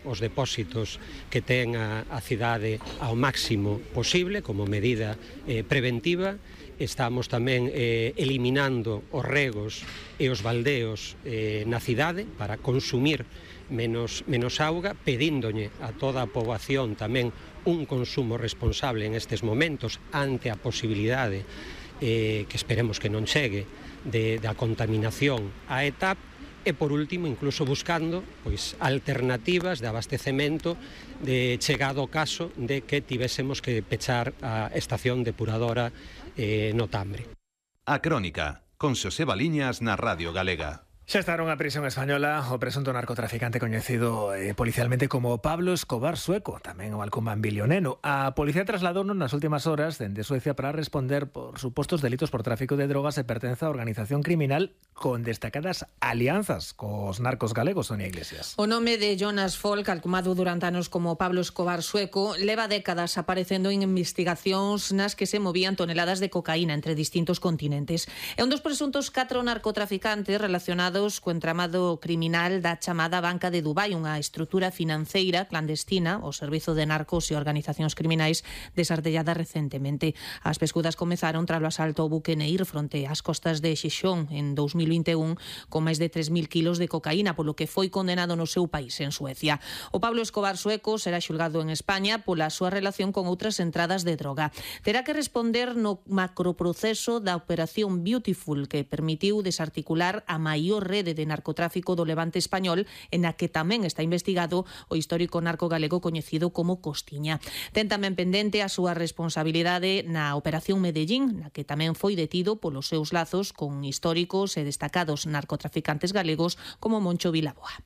os depósitos que ten a cidade ao máximo posible como medida preventiva. Estamos tamén eliminando os regos e os baldeos na cidade para consumir menos auga, pedíndolle a toda a poboación tamén un consumo responsable en estes momentos ante a posibilidade que esperemos que non chegue da contaminación á ETAP. E por último, incluso buscando alternativas de abastecemento de chegado o caso de que tivésemos que pechar a estación depuradora no Tambre. A Crónica, con Xosé Baliñas na Radio Galega. Xa está nunha prisión española o presunto narcotraficante coñecido policialmente como Pablo Escobar Sueco, tamén o alcumán bilioneno. A policía trasladouno nas últimas horas dende Suecia para responder por supostos delitos por tráfico de drogas e pertenza a organización criminal con destacadas alianzas cos narcos galegos, Sonia Iglesias. O nome de Jonas Folk, alcumado durante anos como Pablo Escobar Sueco, leva décadas aparecendo en investigacións nas que se movían toneladas de cocaína entre distintos continentes. É un dos presuntos 4 narcotraficantes relacionados co entramado criminal da chamada Banca de Dubai, unha estrutura financeira clandestina, o servizo de narcos e organizacións criminais desartellada recentemente. As pescudas comezaron tras o asalto ao buque Neir fronte ás costas de Xixón en 2021 con máis de 3.000 kilos de cocaína, polo que foi condenado no seu país, en Suecia. O Pablo Escobar Sueco será xulgado en España pola súa relación con outras entradas de droga. Terá que responder no macroproceso da Operación Beautiful, que permitiu desarticular a maior rede de narcotráfico do levante español, en a que tamén está investigado o histórico narco galego coñecido como Costiña. Ten tamén pendente a súa responsabilidade na Operación Medellín, na que tamén foi detido polos seus lazos con históricos e destacados narcotraficantes galegos como Moncho Vilaboa.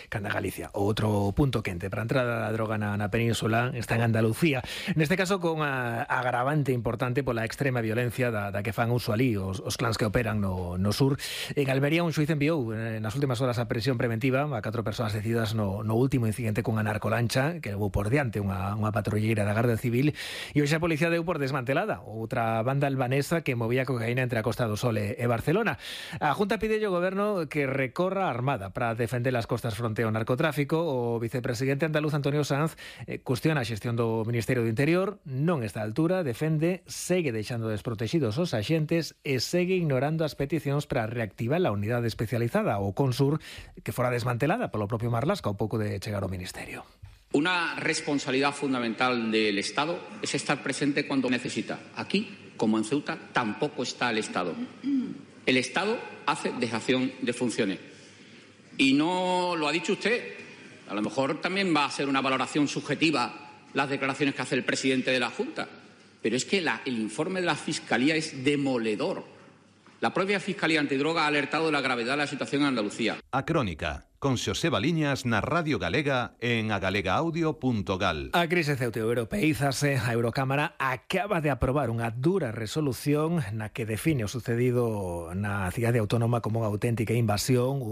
Canda Galicia. Outro punto quente para a entrada da droga na península está en Andalucía. Neste caso con a agravante importante pola extrema violencia da que fan uso ali os clans que operan no sur. En Almería un xuiz enviou nas últimas horas a prisión preventiva a 4 persoas decididas no último incidente cunha narcolancha que levou por diante unha patrulleira da Garda Civil, e hoxe a policía deu por desmantelada outra banda albanesa que movía cocaína entre a Costa do Sol e Barcelona. A Junta pide ao goberno que recorra a Armada para defender as costas fronte ao narcotráfico. O vicepresidente andaluz Antonio Sanz cuestiona a xestión do Ministerio do Interior, non está a altura, defende, segue deixando desprotegidos os axentes e segue ignorando as peticións para reactivar a unidade especializada, o Consur, que fora desmantelada polo propio Marlaska ao pouco de chegar ao Ministerio. Una responsabilidad fundamental del Estado es estar presente cuando necesita. Aquí, como en Ceuta, tampoco está el Estado. El Estado hace dejación de funciones. Y no lo ha dicho usted. A lo mejor también va a ser una valoración subjetiva las declaraciones que hace el presidente de la Junta. Pero es que el informe de la Fiscalía es demoledor. La propia Fiscalía Antidroga ha alertado de la gravedad de la situación en Andalucía. A Crónica, con Xosé Baliñas na Radio Galega en agalegaaudio.gal. A crise ceuto-europeízase. A Eurocámara acaba de aprobar unha dura resolución na que define o sucedido na cidade autónoma como unha auténtica invasión,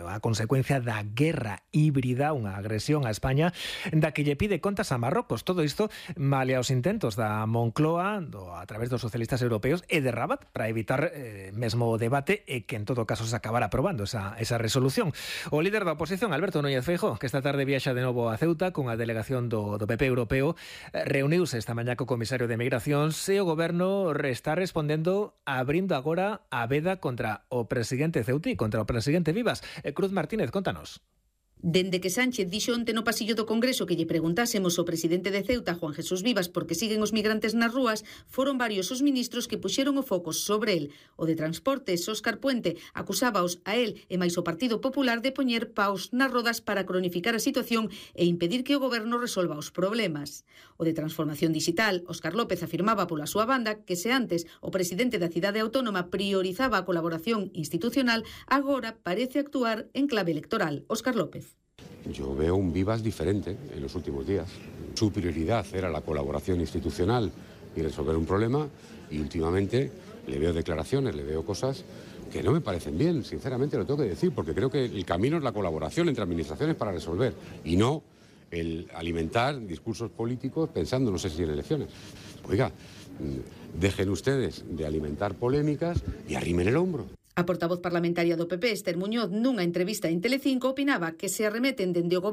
a consecuencia da guerra híbrida, unha agresión a España, da que lle pide contas a Marrocos. Todo isto malia os intentos da Moncloa a través dos socialistas europeos e de Rabat para evitar mesmo o debate e que en todo caso se acabara aprobando esa resolución. O líder da oposición, Alberto Núñez Feijóo, que esta tarde viaxa de novo a Ceuta con a delegación do PP europeo, reuniuse esta mañá co comisario de Migracións e o goberno está respondendo abrindo agora a veda contra o presidente ceutí, contra o presidente Vivas. Cruz Martínez, contanos. Dende que Sánchez dixo onte no pasillo do Congreso que lle preguntásemos ao presidente de Ceuta, Juan Jesús Vivas, por que siguen os migrantes nas rúas, foron varios os ministros que puxeron o foco sobre el. O de Transportes, Óscar Puente, acusábaos a el e máis o Partido Popular de poñer paus nas rodas para cronificar a situación e impedir que o goberno resolva os problemas. O de Transformación Digital, Óscar López afirmaba pola súa banda que se antes o presidente da cidade autónoma priorizaba a colaboración institucional, agora parece actuar en clave electoral. Óscar López. Yo veo un Vivas diferente en los últimos días. Su prioridad era la colaboración institucional y resolver un problema, y últimamente le veo declaraciones, le veo cosas que no me parecen bien, sinceramente lo tengo que decir, porque creo que el camino es la colaboración entre administraciones para resolver, y no el alimentar discursos políticos pensando no sé si en elecciones. Oiga, dejen ustedes de alimentar polémicas y arrimen el hombro. A portavoz parlamentaria do PP, Esther Muñoz, nunha entrevista en Telecinco, opinaba que se arremeten dende o goberno